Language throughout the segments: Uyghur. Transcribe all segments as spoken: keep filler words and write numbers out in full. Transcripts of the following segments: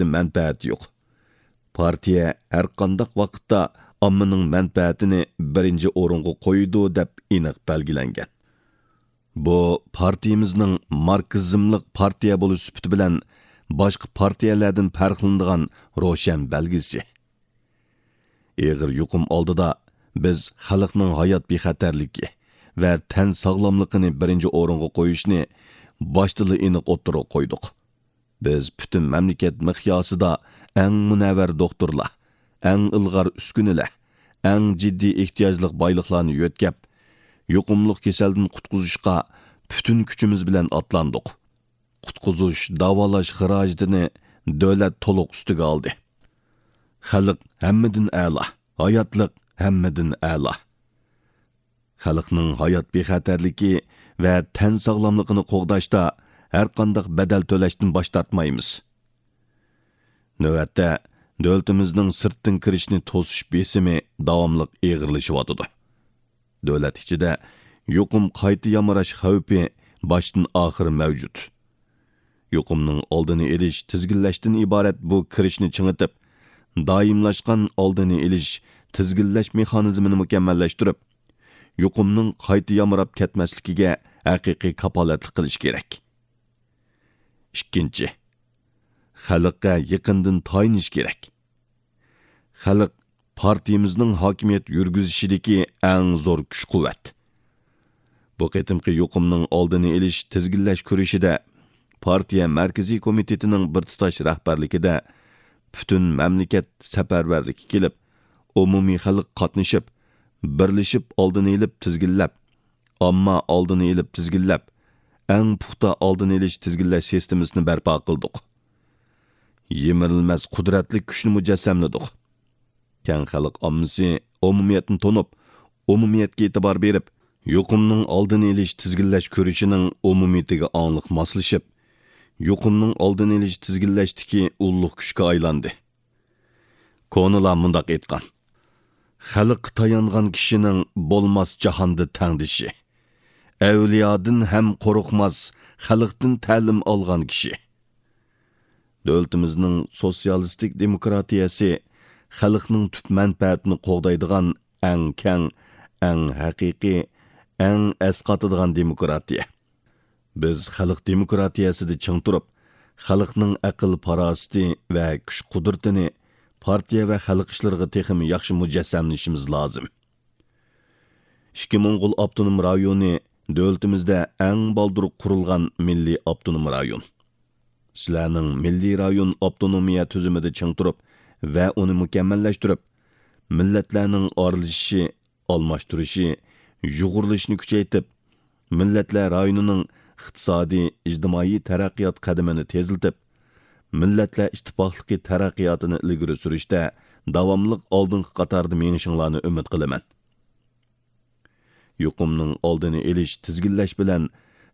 مەنپەئەتى يوق. پارتىيە ھەرقانداق ۋاقىتتا ئاممىنىڭ مەنپەئەتىنى بىرىنچى ئورۇنغا قويىدۇ، دەپ ئېنىق بەلگىلەنگەن. بۇ پارتىيىمىزنىڭ ماركسىزملىق پارتىيە بولۇش سۈپىتى بىلەن باشقا پارتىيەلەردىن پەرقلىنىدىغان روشەن بەلگىسى. ئېغىر يۇقۇم ئالدىدا بىز خەلقنىڭ ھايات بىخەتەرلىكى ۋە تەن ساغلاملىقىنى بىرىنچى ئورۇنغا قويۇشنى باشتىلا ئېنىق ئوتتۇرىغا قويدۇق. بىز پۈتۈن مەملىكەت مىقياسىدا ئەڭ مۇنەۋۋەر دوختۇرلار، ئەڭ ئىلغار ئۈسكۈنىلەر، ئەڭ جىددىي ئېھتىياجلىق بايلىقلارنى يۆتكەپ، يۇقۇملۇق كېسەلدىن قۇتقۇزۇشقا پۈتۈن كۈچىمىز بىلەن ئاتلاندۇق. قۇتقۇزۇش، داۋالاش خىراجىتىنى دۆلەت تولۇق ئۈستىگە ئالدى. خەلق ھەممىدىن ئەلا، ھاياتلىق ھەممىدىن ئەلا. خەلقنىڭ ھايات بىخەتەرلىكى ۋە تەن ساغلاملىقىنى قوغداشتا ھەرقانداق بەدەل تۆلەشتىن باش تارتمايمىز. نۆۋەتتە، دۆلىتىمىزنىڭ سىرتتىن كىرىشنى توسۇش بېسىمى داۋاملىق ئېغىرلىشىۋاتىدۇ. دۆلەت ئىچىدە يۇقۇم قايتا يامراش خەۋپى باشتىن ئاخىر مەۋجۇت. يۇقۇمنىڭ ئالدىنى ئېلىش، تىزگىنلەشتىن ئىبارەت بۇ كىرىشنى چىڭىتىپ، دائىملاشقان ئالدىنى ئېلىش، تىزگىنلەش مېخانىزمىنى مۇكەممەللەشتۈرۈپ، يۇقۇمنىڭ قايتا يامراپ كەتمەسلىكىگە ھەقىقىي كاپالەتلىك قىلىش كېرەك. ئىككىنچى، خەلققە يېقىندىن تايىنىش كېرەك. خەلق پارتىيىمىزنىڭ ھاكىمىيەت يۈرگۈزۈشىدىكى ئەڭ زور كۈچ-قۇۋۋەت. بۇ قېتىمقى يۇقۇمنىڭ ئالدىنى ئېلىش، تىزگىنلەش كۈرىشىدە پارتىيە مەركىزىي كومىتېتىنىڭ بىر تۇتاش رەھبەرلىكىدە پۈتۈن مەملىكەت سەپەرۋەرلىككە كېلىپ، ئومۇمىي خەلق قاتنىشىپ، بىرلىشىپ ئالدىنى ئېلىپ تىزگىنلەپ، ئامما ئالدىنى ئېلىپ تىزگىنلەپ، ئەڭ پۇختا ئالدىنى ئېلىش تىزگىنلەش سىستېمىسىنى بەرپا قىلدۇق. يىمىرىلمەس قۇدرەتلىك كۈچنى مۇجەسسەملىدۇق. كەڭ خەلق ئاممىسى ئومۇمىيەتنى تونۇپ، ئومۇمىيەتكە ئېتىبار بېرىپ، يۇقۇمنىڭ ئالدىنى ئېلىش تىزگىنلەش كۈرىشىنىڭ ئومۇمىيىتىگە ئاڭلىق ماسلىشىپ، يۇقۇمنىڭ ئالدىنى ئېلىش تىزگىنلەشتىكى ئۇللۇق كۈچكە ئايلاندى. كونىلار مۇنداق ئېيتقان: «خەلققە تايانغان كىشىنىڭ بولماس جاھاندا تەڭدىشى. ئەۋلىيادىن ھەم قورقماس، خەلقتىن تەلىم ئالغان كىشى.» دۆلىتىمىزنىڭ سوتسىيالىستىك دېموكراتىيەسى خەلقنىڭ تۈپ مەنپەئەتىنى قوغدايدىغان ئەڭ كەڭ، ئەڭ ھەقىقىي، ئەڭ ئەسقاتىدىغان دېموكراتىيە. بىز خەلق دېموكراتىيەسىدە چىڭ تۇرۇپ، خەلقنىڭ ئەقىل-پاراسىتى ۋە كۈچ-قۇدرىتىنى پارتىيە ۋە خەلق ئىشلىرىغا تېخىمۇ ياخشى مۇجەسسەملىشىمىز لازىم. ئىككى موڭغۇل ئاپتونوم رايونى دۆلىتىمىزدە ئەڭ بالدۇر قۇرۇلغان مىللىي ئاپتونوم رايون. سىلەرنىڭ مىللىي رايون ئاپتونومىيە تۈزۈمىدە چىڭ تۇرۇپ ۋە ئۇنى مۇكەممەللەشتۈرۈپ، مىللەتلەرنىڭ ئارىلىشىشى، ئالماشتۇرۇشى، يۇغۇرۇلۇشىنى كۈچەيتىپ، مىللەتلەر رايونىنىڭ ئىقتىسادىي، ئىجتىمائىي تەرەققىيات قەدىمىنى تېزلىتىپ، مىللەتلەر ئىتتىپاقلىقى تەرەققىياتىنى ئىلگىرى سۈرۈشتە داۋاملىق ئالدىنقى قاتاردا مېڭىشىڭلارنى ئۈمىد قىلىمەن. يۇقۇمنىڭ ئالدىنى ئېلىش، تىزگىنلەش بىلەن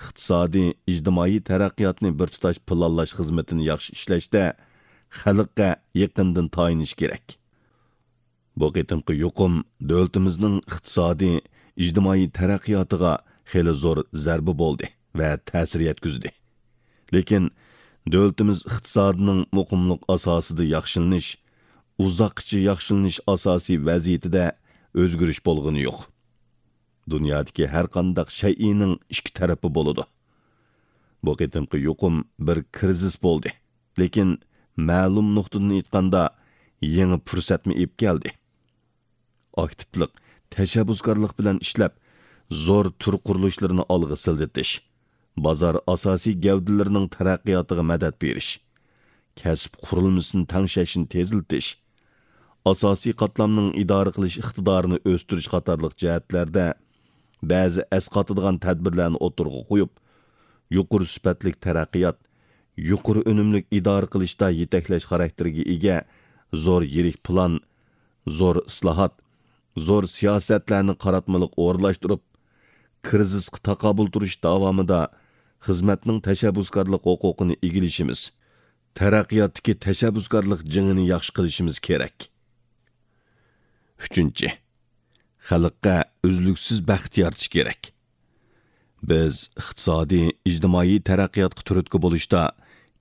ئىقتىسادىي، ئىجتىمائىي تەرەققىياتنى بىر تۇتاش پىلانلاش خىزمىتىنى ياخشى ئىشلەشتە خەلققە يېقىندىن تايىنىش كېرەك. بۇ قېتىمقى يۇقۇم دۆلىتىمىزنىڭ ئىقتىسادىي، ئىجتىمائىي تەرەققىياتىغا خېلى زور زەربە بولدى ۋە تەسىر يەتكۈزدى. لېكىن دۆلىتىمىز ئىقتىسادىنىڭ مۇقىملىق ئاساسىدا ياخشىلىنىش، ئۇزاققىچە ياخشىلىنىش ئاساسىي ۋەزىيىتىدە ئۆزگىرىش بولغىنى يوق. دۇنيادىكى ھەرقانداق شەيئىنىڭ ئىككى تەرىپى بولىدۇ. بۇ قېتىمقى يۇقۇم بىر كىرىزىس بولدى. لېكىن مەلۇم نۇقتىدىن ئېيتقاندا، يېڭى پۇرسەتمۇ ئېلىپ كەلدى. ئاكتىپلىق، تەشەببۇسكارلىق بىلەن ئىشلەپ، زور تۈر قۇرۇلۇشلىرىنى ئالغا سىلجىتىش، بازار ئاساسىي گەۋدىلىرىنىڭ تەرەققىياتىغا مەدەت بېرىش، كەسىپ قۇرۇلمىسىنى تەڭشەشنى تېزلىتىش، ئاساسىي قاتلامنىڭ ئىدارە قىلىش ئىقتىدارىنى ئۆستۈرۈش قاتارلىق جەھەتلەردە بەزى ئەسقاتىدىغان تەدبىرلەرنى ئوتتۇرىغا قويۇپ، يۇقىرى سۈپەتلىك تەرەققىيات، يۇقىرى ئۈنۈملۈك ئىدارە قىلىشتا يېتەكلەش خاراكتېرىگە ئىگە زور يىرىك پىلان، زور ئىسلاھات، زور سىياسەتلەرنى قاراتمىلىق ئورۇنلاشتۇرۇپ، كىرىزىسقا تاقابىل تۇرۇش داۋامىدا خىزمەتنىڭ تەشەببۇسكارلىق ھوقۇقىنى ئىگىلىشىمىز، تەرەققىياتتىكى تەشەببۇسكارلىق جېڭىنى ياخشى قىلىشىمىز كېرەك. ئۈچىنچى، خەلققە ئۈزلۈكسىز بەخت يارىتىش كېرەك. بىز ئىقتىسادىي، ئىجتىمائىي تەرەققىياتقا تۈرتكە بولۇشتا،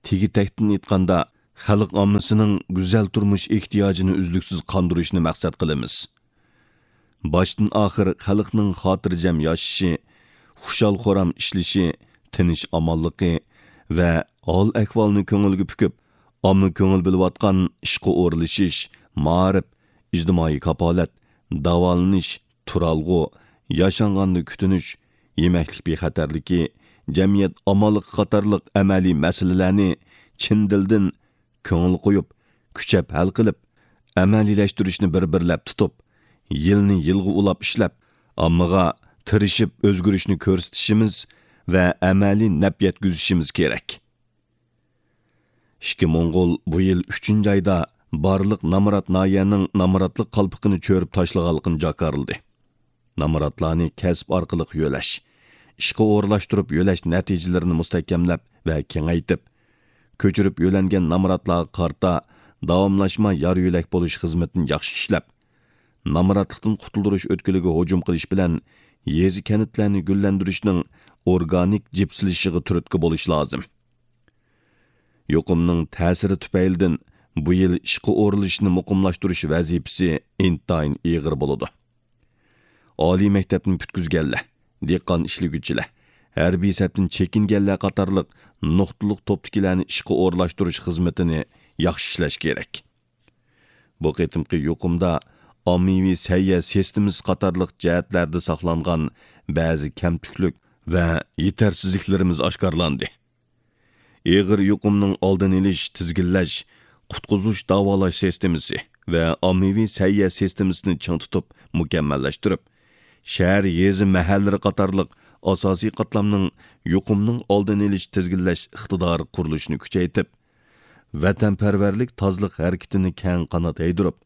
تېگى-تەكتىن ئېيتقاندا، خەلق ئاممىسىنىڭ گۈزەل تۇرمۇش ئېھتىياجىنى ئۈزلۈكسىز قاندۇرۇشنى مەقسەت قىلىمىز. باشتىن ئاخىر خەلقنىڭ خاتىرجەم ياشىشى، خۇشال-خۇرام ئىشلىشى، تىنچ-ئامانلىقى ۋە ھال-ئەھۋالنى كۆڭۈلگە پۈكۈپ، ئامما كۆڭۈل بۆلۈۋاتقان ئىشقا ئورۇنلىشىش، مائارىپ، ئىجتىمائىي كاپالەت، داۋالىنىش، تۇرالغۇ، ياشانغاندا كۈتۈنۈش، يېمەكلىك بىخەتەرلىكى، جەمئىيەت ئامانلىقى قاتارلىق ئەمەلىي مەسىلىلەرنى چىن دىلدىن كۆڭۈل قويۇپ، كۈچەپ ھەل قىلىپ، ئەمەلىيلەشتۈرۈشنى بىر-بىرلەپ تۇتۇپ، يىلنى يىلغا ئۇلاپ ئىشلەپ، ئاممىغا تىرىشىپ ئۆزگىرىشنى كۆرسىتىشىمىز ۋە ئەمەلىي نەپ يەتكۈزۈشىمىز كېرەك. ئىككى موڭغۇل بۇ يىل ئۈچىنچى ئايدا بارلىق نامرات ناھىيەنىڭ نامراتلىق قالپىقىنى چۆرۈپ تاشلىغانلىقىنى جاكارلىدى. نامراتلارنى كەسىپ ئارقىلىق يۆلەش، ئىشقا ئورۇنلاشتۇرۇپ يۆلەش نەتىجىلىرىنى مۇستەھكەملەپ ۋە كېڭەيتىپ، كۆچۈرۈپ يۆلەنگەن نامراتلارغا قارىتا داۋاملاشما يار يۆلەك بولۇش خىزمىتىنى ياخشى ئىشلەپ، نامراتلىقتىن قۇتۇلدۇرۇش ئۆتكىلىگە ھۇجۇم قىلىش بىلەن يېزا كەنتلەرنى گۈللەندۈرۈشنىڭ ئورگانىك جىپسىلىشىشىغا تۈرتكە بولۇش لازىم. يۇقۇمنىڭ تەسىرى تۈپەيلىدىن بۇ يىل ئىشقا ئورۇنلىشىشنى مۇقىملاشتۇرۇش ۋەزىپىسى ئىنتايىن ئېغىر بولىدۇ. ئالىي مەكتەپنى پۈتكۈزگەنلەر، دېھقان ئىشلىگۈچىلەر، ھەربىي سەپتىن چېكىنگەنلەر قاتارلىق نۇقتىلىق توپتىكىلەرنى ئىشقا ئورۇنلاشتۇرۇش خىزمىتىنى ياخشى ئىشلەش كېرەك. بۇ قېتىمقى يۇقۇمدا ئاممىۋى سەھىيە سىستېمىسى قاتارلىق جەھەتلەردە ساقلانغان بەزى كەمتۈكلۈك ۋە يېتەرسىزلىكلىرىمىز ئاشكارىلاندى. ئېغىر يۇقۇمنىڭ ئالدىنى ئېلىش، تىزگىنلەش، قۇتقۇزۇش، داۋالاش سىستېمىسى ۋە ئاممىۋى سەھىيە سىستېمىسىنى چىڭ تۇتۇپ مۇكەممەللەشتۈرۈپ، شەھەر، يېزا، مەھەللىلىرى قاتارلىق ئاساسىي قاتلامنىڭ يۇقۇمنىڭ ئالدىنى ئېلىش، تىزگىنلەش ئىقتىدارى قۇرۇلۇشىنى كۈچەيتىپ، ۋەتەنپەرۋەرلىك تازىلىق ھەرىكىتىنى كەڭ قانات يايدۇرۇپ،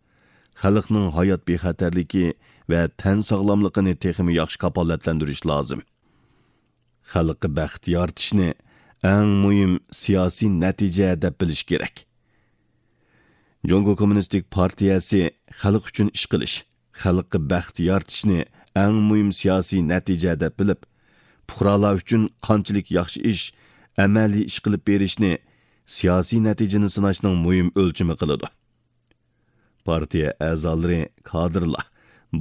خەلقنىڭ ھايات بىخەتەرلىكى ۋە تەن ساغلاملىقىنى تېخىمۇ ياخشى كاپالەتلەندۈرۈش لازىم. خەلققە بەخت يارىتىشنى ئەڭ مۇھىم سىياسىي نەتىجە دەپ بىلىش كېرەك. جۇڭگو كوممۇنىستىك پارتىيەسى خەلق ئۈچۈن ئىش قىلىش، خەلققە بەخت يارىتىشنى ئەڭ مۇھىم سىياسىي نەتىجە دەپ بىلىپ، پۇقرالار ئۈچۈن قانچىلىك ياخشى ئىش، ئەمەلىي ئىش قىلىپ بېرىشنى سىياسىي نەتىجىنى سىناشنىڭ مۇھىم ئۆلچىمى قىلىدۇ. پارتىيە ئەزالىرى، كادىرلار،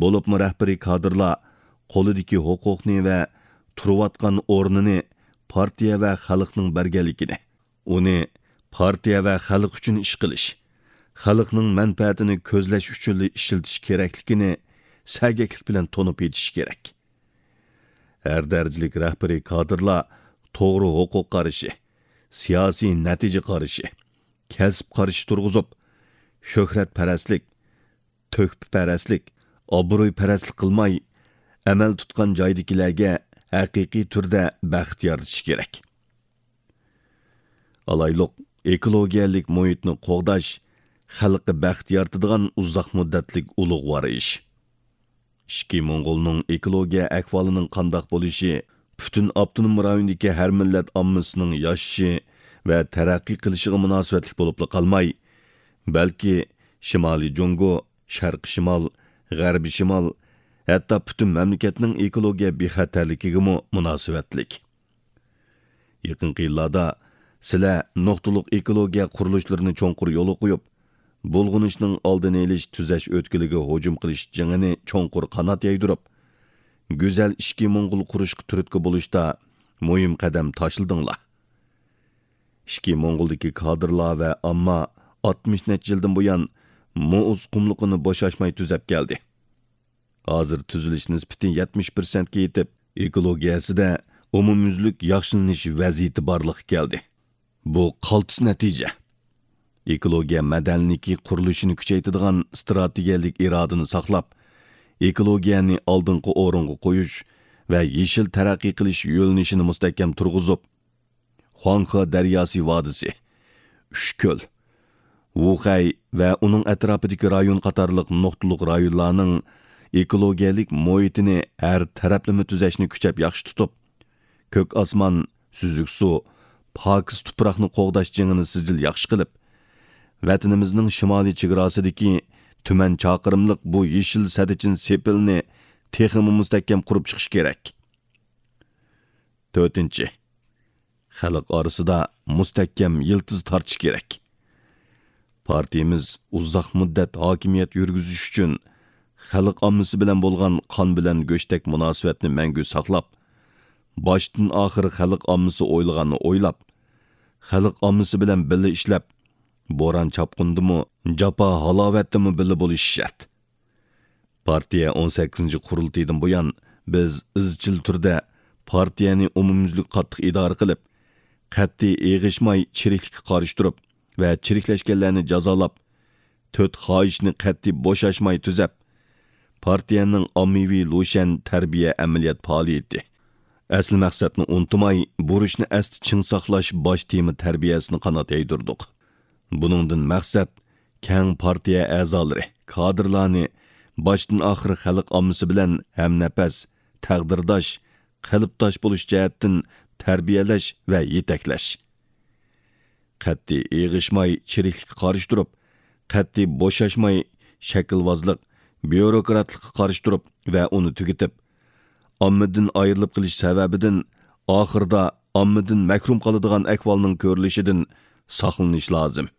بولۇپمۇ رەھبىرىي كادىرلار قولىدىكى ھوقۇقنى ۋە تۇرۇۋاتقان ئورنىنى پارتىيە ۋە خەلقنىڭ بەرگەنلىكىنى، ئۇنى پارتىيە ۋە خەلق ئۈچۈن ئىش قىلىش، خەلقنىڭ مەنپەئەتىنى كۆزلەش ئۈچۈنلا ئىشلىتىش كېرەكلىكىنى سەگەكلىك بىلەن تونۇپ يېتىشى كېرەك. ھەر دەرىجىلىك رەھبىرىي كادىرلار توغرا ھوقۇق قارىشى، سىياسىي نەتىجە قارىشى، كەسىپ قارىشى تۇرغۇزۇپ، شۆھرەتپەرەسلىك، تۆھپىپەرەسلىك، ئابرۇيپەرەسلىك قىلماي، ئەمەل تۇتقان جايدىكىلەرگە ھەقىقىي تۈردە بەخت يارىتىشى كېرەك. ئالايلۇق، ئېكولوگىيەلىك مۇھىتنى قوغداش خەلققە بەخت يارىتىدىغان ئۇزاق مۇددەتلىك ئۇلۇغۋار ئىش. ئىچكى موڭغۇلنىڭ ئېكولوگىيە ئەھۋالىنىڭ قانداق بولۇشى پۈتۈن ئاپتونوم رايوندىكى ھەر مىللەت ئاممىسىنىڭ ياشىشى ۋە تەرەققىي قىلىشىغا مۇناسىۋەتلىك بولۇپلا قالماي، بەلكى شىمالىي جۇڭگو، شەرقىي شىمال، غەربىي شىمال، ھەتتا پۈتۈن مەملىكەتنىڭ ئېكولوگىيە بىخەتەرلىكىگىمۇ مۇناسىۋەتلىك. يېقىنقى يىللاردا سىلەر نۇقتىلىق ئېكولوگىيە قۇرۇلۇشلىرىنى چوڭقۇر يولغا قويۇپ، بۇلغىنىشنىڭ ئالدىنى ئېلىش، تۈزەش ئۆتكىلىگە ھۇجۇم قىلىش جېڭىنى چوڭقۇر قانات يايدۇرۇپ، گۈزەل ئىچكى موڭغۇل قۇرۇشقا تۈرتكە بولۇشتا مۇھىم قەدەم تاشلىدىڭلار. ئىچكى موڭغۇلدىكى كادىرلار ۋە ئامما ئاتمىش نەچچە يىلدىن بۇيان مۇز قۇملۇقىنى بوشاشماي تۈزەپ كەلدى. ھازىر تۈزۈلۈش نىسبىتى يەتمىش پىرسەنتكە يېتىپ، ئېكولوگىيەسىدە ئومۇميۈزلۈك ياخشىلىنىش ۋەزىيىتى بارلىققا كەلدى. بۇ قالتىس نەتىجە. ئېكولوگىيە مەدەنىيلىكى قۇرۇلۇشىنى كۈچەيتىدىغان ئىستراتېگىيەلىك ئىرادىنى ساقلاپ، ئېكولوگىيەنى ئالدىنقى ئورۇنغا قويۇش ۋە يېشىل تەرەققىي قىلىش يۆنىلىشىنى مۇستەھكەم تۇرغۇزۇپ، خۇاڭخې دەرياسى ۋادىسى، ئۈچكۆل، ۋۇخەي ۋە ئۇنىڭ ئەتراپىدىكى رايون قاتارلىق نۇقتىلىق رايونلارنىڭ ئېكولوگىيەلىك مۇھىتىنى ھەر تەرەپلىمە تۈزەشنى كۈچەپ ياخشى تۇتۇپ، كۆك ئاسمان، سۈزۈك سۇ، پاكىز تۇپراقنى قوغداش جېڭىنى سىجىل ياخشى قىلىپ، ۋەتىنىمىزنىڭ شىمالىي چېگراسىدىكى تۈمەن چاقىرىملىق بۇ يېشىل سەددىچىن سېپىلنى تېخىمۇ مۇستەھكەم قۇرۇپ چىقىش كېرەك. تۆتىنچى، خەلق ئارىسىدا مۇستەھكەم يىلتىز تارتىش كېرەك. پارتىيىمىز ئۇزاق مۇددەت ھاكىمىيەت يۈرگۈزۈش ئۈچۈن خەلق ئاممىسى بىلەن بولغان قان بىلەن گۆشتەك مۇناسىۋەتنى مەڭگۈ ساقلاپ، باشتىن ئاخىر خەلق ئاممىسى ئويلىغاننى ئويلاپ، خەلق ئاممىسى بىلەن بىللە ئىشلەپ، بوران-چاپقۇندىمۇ، جاپا-ھالاۋەتتىمۇ بىللە بولۇشى شەرت. پارتىيە ئون سەككىزىنچى قۇرۇلتىيىدىن بۇيان، بىز ئىزچىل تۈردە پارتىيەنى ئومۇميۈزلۈك قاتتىق ئىدارە قىلىپ، قەتئىي ئېغىشماي چىرىكلىككە قارشى تۇرۇپ ۋە چىرىكلەشكەنلەرنى جازالاپ، تۆت خاھىشنى قەتئىي بوشاشماي تۈزەپ، پارتىيەنىڭ ئاممىۋى لۇشيەن تەربىيە ئەمەلىيەت پائالىيىتى، ئەسلى مەقسەتنى ئۇنتۇماي، بۇرچنى ئەستە چىڭ ساقلاش باش تېما تەربىيەسىنى قانات يايدۇردۇق. بۇنىڭدىن مەقسەت، كەڭ پارتىيە ئەزالىرى، كادىرلارنى باشتىن ئاخىر خەلق ئاممىسى بىلەن ھەمنەپەس، تەقدىرداش، قەلبداش بولۇش جەھەتتىن تەربىيەلەش ۋە يېتەكلەش. قەتئىي ئېغىشماي چىرىكلىككە قارشى تۇرۇپ، قەتئىي بوشاشماي شەكىلۋازلىق، بيۇروكراتلىققا قارشى تۇرۇپ ۋە ئۇنى تۈگىتىپ، ئاممىدىن ئايرىلىپ قېلىش سەۋەبىدىن ئاخىرىدا ئاممىدىن مەھرۇم قالىدىغان ئەھۋالنىڭ كۆرۈلۈشىدىن ساقلىنىش لازىم.